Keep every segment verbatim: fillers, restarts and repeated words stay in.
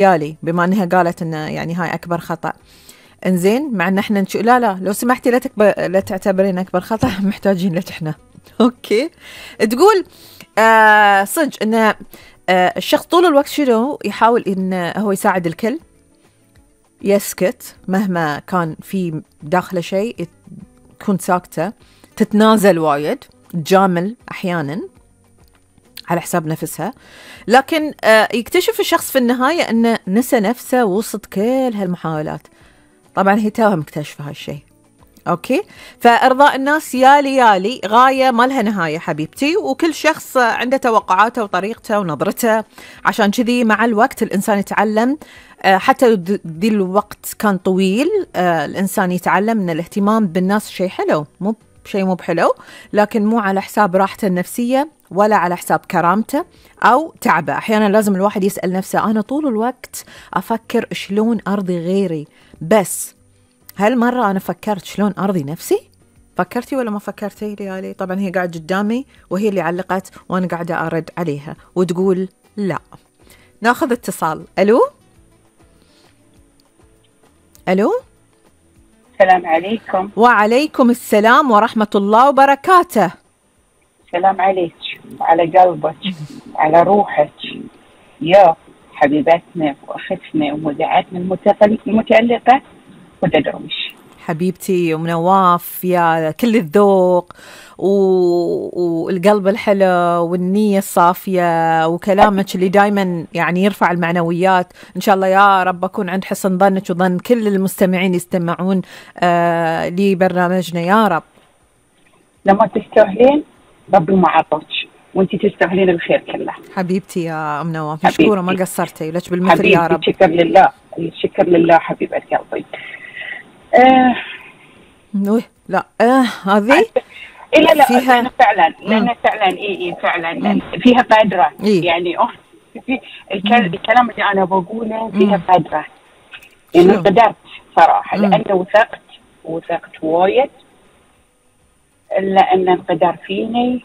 يالي بما انها قالت انه يعني هاي اكبر خطأ. انزين مع ان احنا نشو لا لا لو سمحتي لا تكبر لا تعتبرين اكبر خطأ، محتاجين لك احنا. اوكي. تقول آه صدق ان آه الشخص طول الوقت شنو يحاول ان هو يساعد الكل، يسكت مهما كان في داخله شيء، تكون ساكتة، تتنازل وايد، تجامل احيانا على حساب نفسها، لكن آه يكتشف الشخص في النهاية أنه نسى نفسه وسط كل هالمحاولات. طبعا هي توها مكتشفة هالشيء. أوكي، فإرضاء الناس يالي يالي غاية ما لها نهاية حبيبتي، وكل شخص عنده توقعاته وطريقته ونظرته. عشان كذي مع الوقت الإنسان يتعلم، آه حتى ذي الوقت كان طويل، آه الإنسان يتعلم أن الاهتمام بالناس شيء حلو، مو شيء مو بحلو، لكن مو على حساب راحته النفسية ولا على حساب كرامته أو تعبه. أحيانا لازم الواحد يسأل نفسه، أنا طول الوقت أفكر شلون أرضي غيري، بس هل مرة أنا فكرت شلون أرضي نفسي؟ فكرتي ولا ما فكرتي ليالي؟ طبعا هي قاعدة قدامي وهي اللي علقت وأنا قاعدة أرد عليها وتقول لا. ناخذ اتصال. ألو ألو. السلام عليكم. وعليكم السلام ورحمة الله وبركاته. السلام عليك وعلى قلبك وعلى روحك يا حبيبتنا وأختنا ومذيعتنا المتألقة هدى درويش. حبيبتي أم نواف، يا كل الذوق والقلب الحلو والنية الصافية وكلامك اللي دايما يعني يرفع المعنويات. إن شاء الله يا رب أكون عند حسن ظنك وظن كل المستمعين يستمعون آه لبرنامجنا يا رب. لما تستاهلين ربي ما عطوك، وانتي تستاهلين الخير كله حبيبتي يا أم نواف، مشكورة ما قصرتي، لك بالمثل يا رب. الشكر لله، الشكر لله حبيبة قلبي. آه لا آه هذه إيه لا لا فيها لأن فعلا لأن فعلا إيه إيه فعلا فيها قدرة. إيه؟ يعني أوه في الكلام اللي أنا بقوله فيها قدرة، يعني قدرت صراحة مم. لأنه وثقت وثقت وايد، إلا أن القدر فيني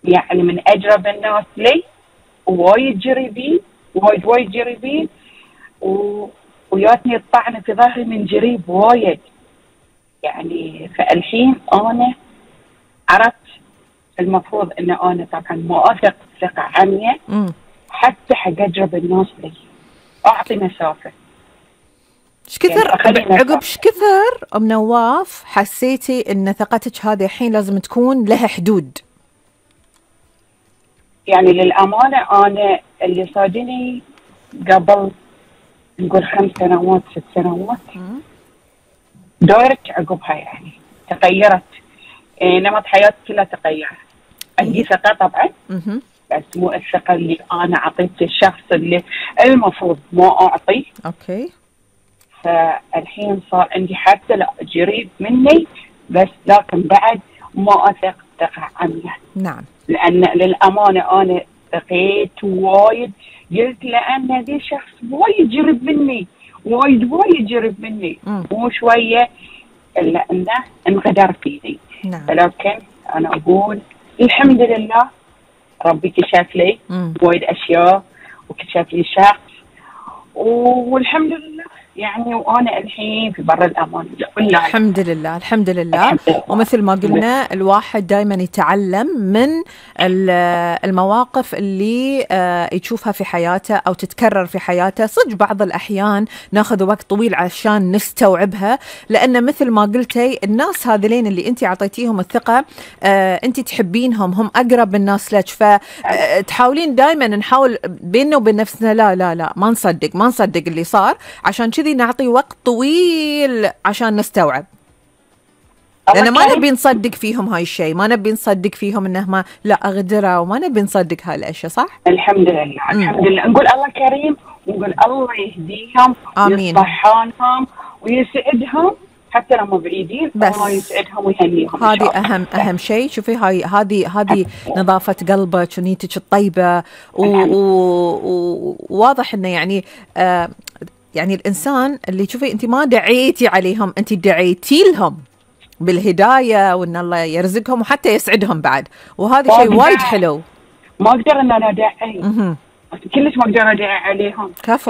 يعني من أجرب الناس لي، وايد جريبين وايد وايد جريبين و... وياتني الطعنة في ظهري من جريب وايد. يعني فالحين أنا عرفت المفروض أن أنا طبعا ما أثق ثقة عمياء حتى حق أجرب الناس لي، أعطي مسافة. ايش كثر يعني عقب ايش كثر أم نواف حسيتي ان ثقتك هذه الحين لازم تكون لها حدود؟ يعني للأمانة أنا اللي صادني قبل نقول خمس سنوات ست سنوات دورت عقبها، يعني تغيرت، إيه نمط حياتي كلها تغير. عندي ثقة طبعا بس مو الثقة اللي أنا أعطيت الشخص اللي المفروض ما أعطيه. أوكي. فالحين صار عندي حتى لا جريب مني بس لكن بعد ما أثق ثقة عمياء. نعم. لأن للأمانة أنا ثقيت وايد، قلت لأن هذا شخص وايد جرب مني وايد وايد جرب مني مو شوية، إلا أنه انغدر فيني. نعم. لكن أنا أقول الحمد لله ربي كشف لي وايد أشياء وكشف لي شخص، والحمد لله يعني وأنا الحين في بر الأمان. الحمد لله الحمد لله, الحمد لله. ومثل ما قلنا الواحد دائما يتعلم من المواقف اللي يشوفها في حياته أو تتكرر في حياته. صدق بعض الأحيان ناخذ وقت طويل عشان نستوعبها، لأن مثل ما قلتي الناس هذلين اللي أنت عطيتيهم الثقة أنت تحبينهم، هم أقرب الناس لك، فتحاولين دائما نحاول بيننا وبين نفسنا لا لا لا ما نصدق ما نصدق اللي صار، عشان كذي نعطي وقت طويل عشان نستوعب، لأن ما نبي نصدق فيهم هاي الشيء، ما نبي نصدق فيهم إنه ما لا أغدرة، وما نبي نصدق هاي الأشياء. صح؟ الحمد لله الحمد لله. نقول الله كريم ونقول الله يهديهم ويصلحهم ويسعدهم حتى لما بعيدين، الله يسعدهم ويهنيهم. هذه أهم أهم شيء. شوفي هاي هذه هذه نظافة قلبك ونيتك الطيبة، وواضح إنه يعني آه يعني الإنسان اللي تشوفي أنت ما دعيتي عليهم، أنت دعيتي لهم بالهداية وإن الله يرزقهم وحتى يسعدهم بعد، وهذا شيء وايد حلو. ما أقدر إن أنا أدعي كلش ما اقدر ادعي عليهم. كفو